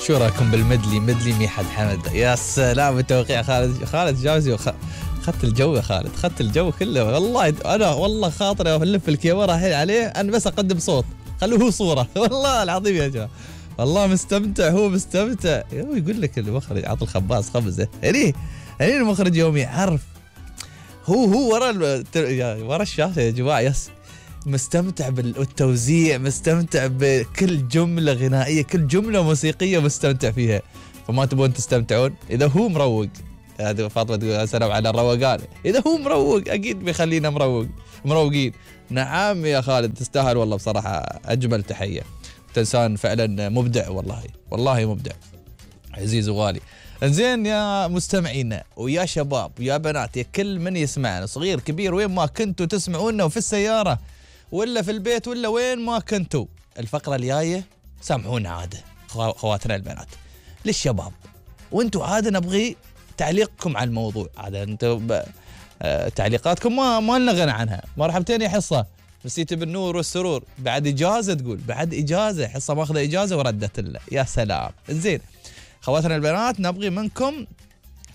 شو رايكم بالمدلي؟ مدلي ميحد حمد. يا سلام التوقيع. خالد جاوزي خدت الجو يا خالد، خدت الجو كله والله. انا والله خاطري الف الكاميرا الحين عليه، انا بس اقدم صوت، خلوه صوره. والله العظيم يا جماعه والله مستمتع، هو مستمتع. يقول لك المخرج عطى الخباز خبزه. هني المخرج يوم يعرف هو ورا الشاشه يا جماعه. يس مستمتع بالتوزيع، مستمتع بكل جمله غنائيه، كل جمله موسيقيه مستمتع فيها. فما تبون تستمتعون؟ اذا هو مروق، هذه فاطمه تقول سلام على الروقان، اذا هو مروق اكيد بيخلينا مروقين. نعم يا خالد تستاهل والله بصراحه، اجمل تحيه. انسان فعلا مبدع، والله مبدع عزيز وغالي. انزين يا مستمعينا ويا شباب ويا بنات، يا كل من يسمعنا صغير كبير، وين ما كنتوا تسمعونا، وفي السياره ولا في البيت ولا وين ما كنتوا، الفقره الجايه سامحونا عاده خواتنا البنات للشباب، وانتوا عاده نبغي تعليقكم على الموضوع. عاده انتوا تعليقاتكم ما لنا غنى عنها. مرحبتين يا حصه، مسيت بالنور والسرور. بعد اجازه، تقول بعد اجازه، حصه ماخذه اجازه وردت لنا. يا سلام. انزين خواتنا البنات نبغي منكم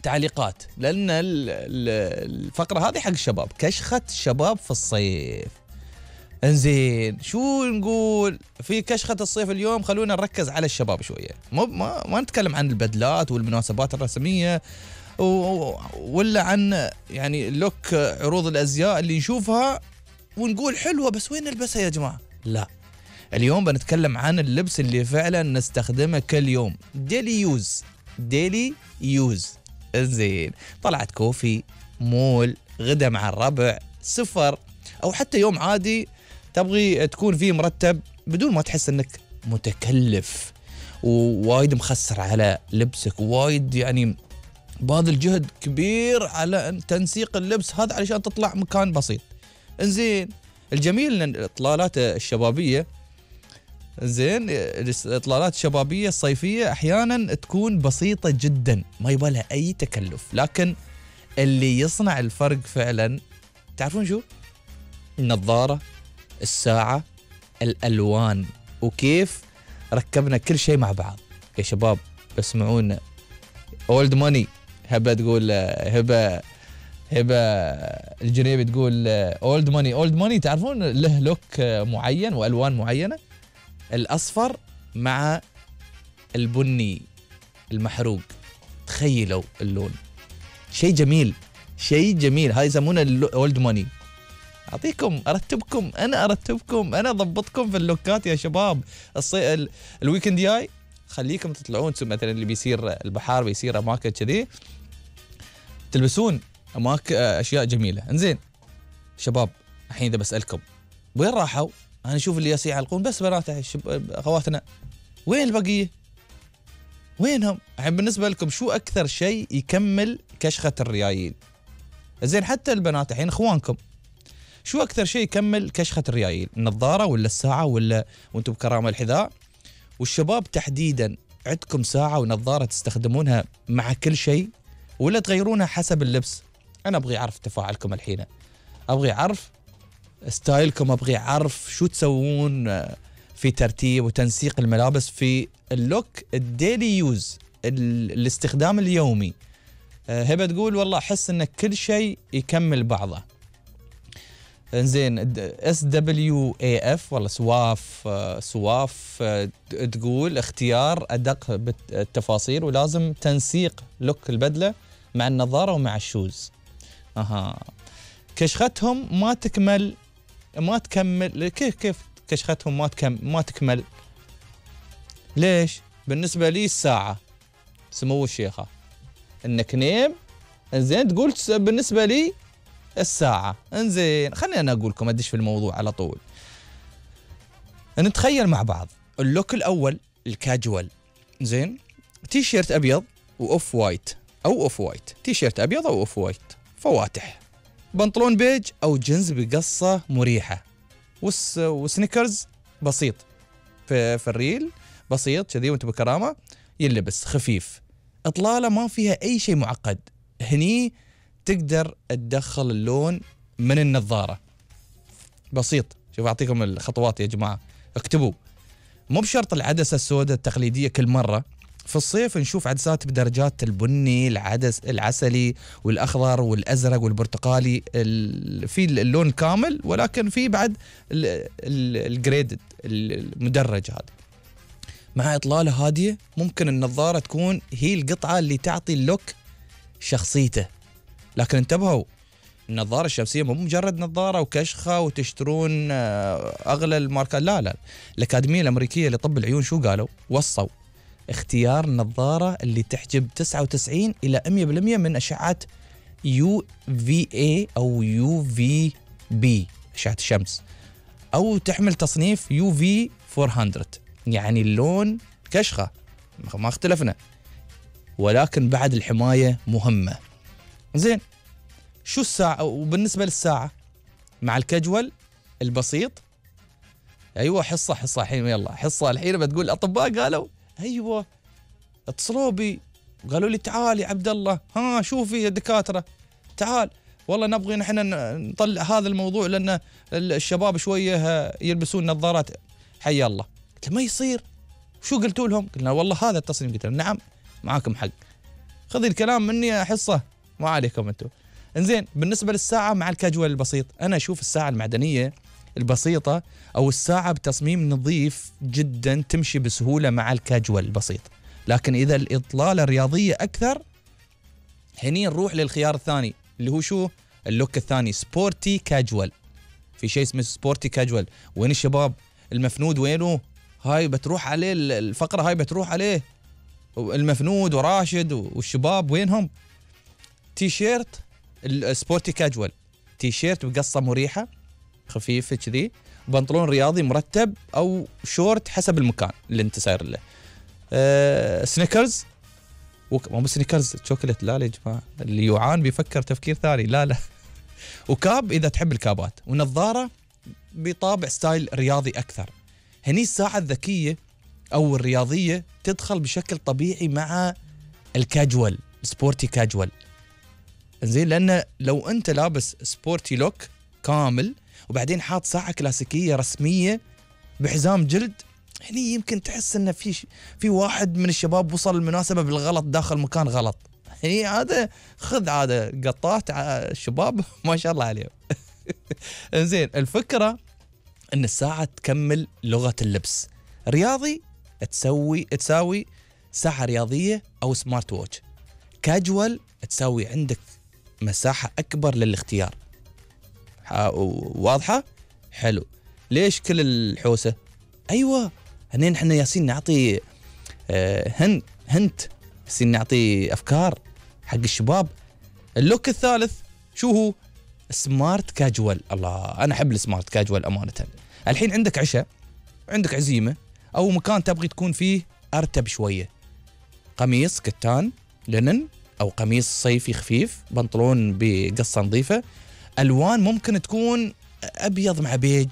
تعليقات، لان الفقره هذه حق الشباب، كشخه الشباب في الصيف. انزين شو نقول في كشخه الصيف اليوم؟ خلونا نركز على الشباب شويه، ما نتكلم عن البدلات والمناسبات الرسميه ولا عن يعني لوك عروض الازياء اللي نشوفها ونقول حلوه بس وين نلبسها يا جماعه. لا، اليوم بنتكلم عن اللبس اللي فعلا نستخدمه كل يوم، ديلي يوز. زين طلعت كوفي، مول، غدا مع الربع، سفر، او حتى يوم عادي تبغي تكون فيه مرتب بدون ما تحس انك متكلف ووايد مخسر على لبسك، وايد يعني باذل جهد كبير على تنسيق اللبس هذا علشان تطلع مكان بسيط. انزين الجميل ان الاطلالات الشبابيه، زين الاطلالات الشبابيه الصيفيه احيانا تكون بسيطه جدا، ما يبغى لها اي تكلف، لكن اللي يصنع الفرق فعلا تعرفون شو؟ النظاره، الساعه، الالوان، وكيف ركبنا كل شيء مع بعض. يا شباب اسمعونا، اولد ماني. هبه تقول هبه الجنيبي تقول اولد ماني تعرفون له لوك معين والوان معينه، الاصفر مع البني المحروق، تخيلوا اللون، شيء جميل. هاي يسمونه اولد ماني. ارتبكم انا اضبطكم في اللوكات يا شباب. الويكند جاي خليكم تطلعون مثلا اللي بيصير البحار، بيصير اماكن كذي، تلبسون اشياء جميله. انزين شباب الحين اذا بسالكم وين راحوا، انا اشوف اللي يعلقون بس بنات اخواتنا، وين البقيه؟ وينهم؟ الحين بالنسبه لكم شو اكثر شيء يكمل كشخه الريايل؟ زين حتى البنات الحين اخوانكم، شو اكثر شيء يكمل كشخه الريايل؟ النظاره ولا الساعه ولا وانتم بكرامه الحذاء؟ والشباب تحديدا عندكم ساعه ونظاره تستخدمونها مع كل شيء ولا تغيرونها حسب اللبس؟ انا ابغي اعرف تفاعلكم الحين، ابغي اعرف ستايلكم، ابغي اعرف شو تسوون في ترتيب وتنسيق الملابس في اللوك الديلي يوز، الاستخدام اليومي. هبه تقول والله احس ان كل شيء يكمل بعضه. انزين SWAF والله سواف تقول اختيار ادق بالتفاصيل ولازم تنسيق لوك البدله مع النظاره ومع الشوز. كشختهم ما تكمل. كيف كشختهم ما تكمل؟ ليش؟ بالنسبه لي الساعه، سمو الشيخه انك نيم. انزين تقول بالنسبه لي الساعه. انزين خليني انا اقول لكم، ادش في الموضوع على طول. نتخيل مع بعض اللوك الاول الكاجوال، زين تي شيرت ابيض واوف وايت او اوف وايت، تي شيرت ابيض او اوف وايت فواتح، بنطلون بيج او جنز بقصه مريحه، وسنيكرز بسيط في الريل بسيط كذي وانت بكرامه، يلبس خفيف، اطلاله ما فيها اي شيء معقد. هني تقدر تدخل اللون من النظاره بسيط. شوف اعطيكم الخطوات يا جماعه، اكتبوا. مو بشرط العدسه السوداء التقليديه كل مره، في الصيف نشوف عدسات بدرجات البني، العدس العسلي والأخضر والأزرق والبرتقالي، في اللون كامل، ولكن في بعد الجريدد المدرج هذا. مع إطلالة هادية ممكن النظارة تكون هي القطعة اللي تعطي اللوك شخصيته. لكن انتبهوا، النظارة الشمسية مو مجرد نظارة وكشخة وتشترون أغلى الماركات، لا. الأكاديمية الأمريكية لطب العيون شو قالوا؟ وصوا اختيار النظارة اللي تحجب 99 إلى 100% من أشعة UVA أو UVB أشعة الشمس، أو تحمل تصنيف UV 400، يعني اللون كشخة ما اختلفنا، ولكن بعد الحماية مهمة. زين، شو الساعة؟ وبالنسبة للساعة مع الكجول البسيط، أيوة حصة الحين، يلا حصة الحين بتقول الأطباء قالوا أيوة، اتصلوا بي قالوا لي تعال يا عبد الله، ها شوفي يا دكاترة تعال، والله نبغي نحن نطلع هذا الموضوع لأن الشباب شوية يلبسون نظارات. حي الله. قلت ما يصير، شو قلتوا لهم؟ قلنا والله هذا التصميم. قلت نعم معاكم حق، خذي الكلام مني يا حصة، ما عليكم انتم. انزين، بالنسبة للساعة مع الكاجوال البسيط، أنا أشوف الساعة المعدنية البسيطة أو الساعة بتصميم نظيف جدا تمشي بسهولة مع الكاجوال البسيط. لكن إذا الإطلالة رياضية أكثر، هني نروح للخيار الثاني اللي هو شو؟ اللوك الثاني، سبورتي كاجوال. في شيء اسمه سبورتي كاجوال. وين الشباب؟ المفنود وينه؟ هاي بتروح عليه الفقرة، هاي بتروح عليه المفنود وراشد والشباب وينهم؟ تي شيرت السبورتي كاجوال، تي شيرت بقصة مريحة خفيفة كذي، بنطلون رياضي مرتب أو شورت حسب المكان اللي انت ساير له. سنيكرز، مو سنيكرز شوكولات، لا يا جماعة، اللي يوعان بيفكر تفكير ثاني، لا وكاب إذا تحب الكابات، ونظارة بطابع ستايل رياضي أكثر. هني الساعة الذكية أو الرياضية تدخل بشكل طبيعي مع الكاجوال، سبورتي كاجوال. زين، لأن لو أنت لابس سبورتي لوك كامل وبعدين حاط ساعة كلاسيكية رسمية بحزام جلد، هني يمكن تحس إن في واحد من الشباب وصل المناسبة بالغلط، داخل مكان غلط. هني هذا خذ عادة قطات الشباب ما شاء الله عليهم. زين، الفكرة إن الساعة تكمل لغة اللبس. رياضي تساوي ساعة رياضية أو سمارت ووتش. كاجوال تساوي عندك مساحة أكبر للاختيار. واضحة؟ حلو. ليش كل الحوسة؟ أيوة، هنين احنا ياسين نعطي هنت، ياسين نعطي أفكار حق الشباب. اللوك الثالث شو هو؟ سمارت كاجوال. الله، أنا أحب السمارت كاجوال أمانة. الحين عندك عشاء، عندك عزيمة، أو مكان تبغي تكون فيه أرتب شوية، قميص كتان لينن أو قميص صيفي خفيف، بنطلون بقصة نظيفة. ألوان ممكن تكون أبيض مع بيج،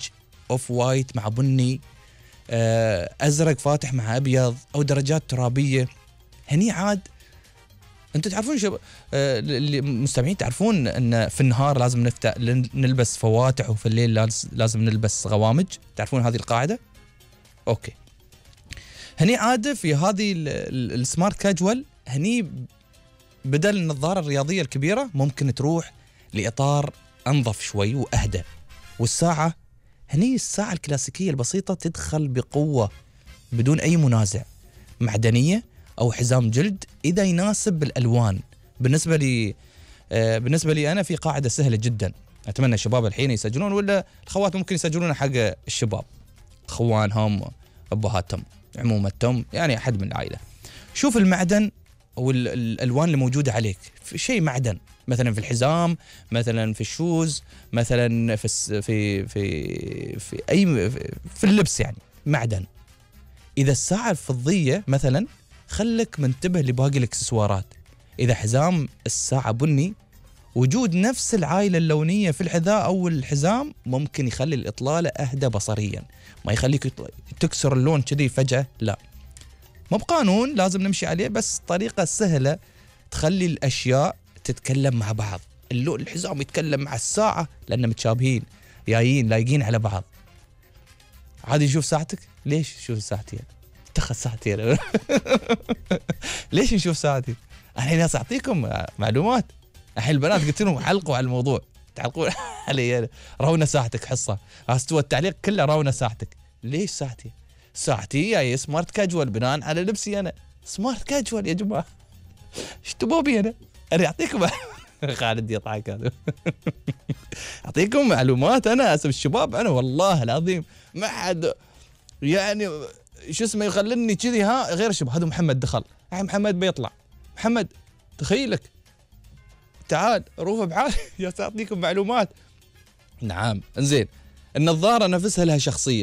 أوف وايت مع بني، أزرق فاتح مع أبيض، أو درجات ترابية. هني عاد أنتوا تعرفون اللي مستمعين تعرفون أن في النهار لازم نلبس فواتح، وفي الليل لازم نلبس غوامج. تعرفون هذه القاعدة؟ أوكي. هني عاد في هذه السمارت كاجوال، هني بدل النظارة الرياضية الكبيرة ممكن تروح لإطار أنظف شوي وأهدى. والساعة هني الساعة الكلاسيكية البسيطة تدخل بقوة بدون أي منازع، معدنية أو حزام جلد إذا يناسب الألوان. بالنسبة لي أنا في قاعدة سهلة جدا، أتمنى الشباب الحين يسجلون، ولا الخوات ممكن يسجلون حق الشباب، خوانهم، أبهاتهم، عمومتهم، يعني أحد من العائلة. شوف المعدن أو الألوان اللي موجودة عليك، في شيء معدن، مثلا في الحزام، مثلا في الشوز، مثلا في أي في اللبس، يعني معدن. إذا الساعة الفضية مثلا، خلك منتبه لباقي الإكسسوارات. إذا حزام الساعة بني، وجود نفس العائلة اللونية في الحذاء أو الحزام ممكن يخلي الإطلالة أهدى بصريا، ما يخليك تكسر اللون كذي فجأة، لا، مو بقانون لازم نمشي عليه، بس طريقة سهلة تخلي الأشياء تتكلم مع بعض. الحزام يتكلم مع الساعة لأنهم متشابهين، جايين لايقين على بعض. عادي، شوف ساعتك، ليش شوف ساعتي؟ اتخذ ساعتي. ليش نشوف ساعتي؟ الحين ناس اعطيكم معلومات. الحين البنات قلت لهم علقوا على الموضوع، تعلقون علي رونا ساعتك حصه، استوى التعليق كله رونا ساعتك. ليش ساعتي؟ ساعتي جاي سمارت كاجوال بناء على لبسي انا، سمارت كاجوال يا جماعه. ايش تبوا بي انا اعطيكم خالد يضحك هذا. اعطيكم معلومات انا اسف الشباب، انا والله العظيم ما حد يعني شو اسمه يخلني كذي غير الشباب. هذا محمد دخل، محمد بيطلع، محمد تخيلك تعال روح بعالي يا ساعطيكم معلومات. نعم انزين. النظارة نفسها لها شخصية.